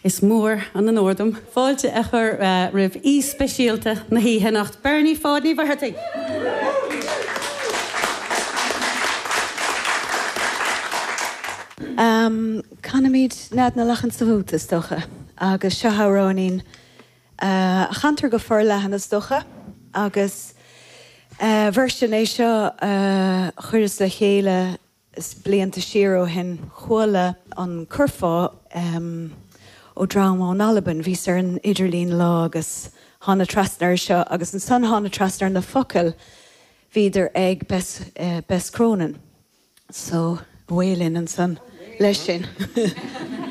Is mór an onóir dom fáilte a chur roimh aoi speisialta na hoíche anocht, Bernie Pháid Ní Mhuircheartaigh! Canfaimid Nead na Lachan sa Bhúta, is dócha, agus seo amhráinín a chantar go forleathan, is dócha, agus version é seo a chuireas le chéile blianta siar ó shin. Chuala an curfá ó dream ón Albain. Bhíos ar an idirlíon lá agus thána trasna ar seo agus ansan thána trasna ar na focail, bhíodar ag Bess, Bess Cronin. So, away linn ansan leis sin.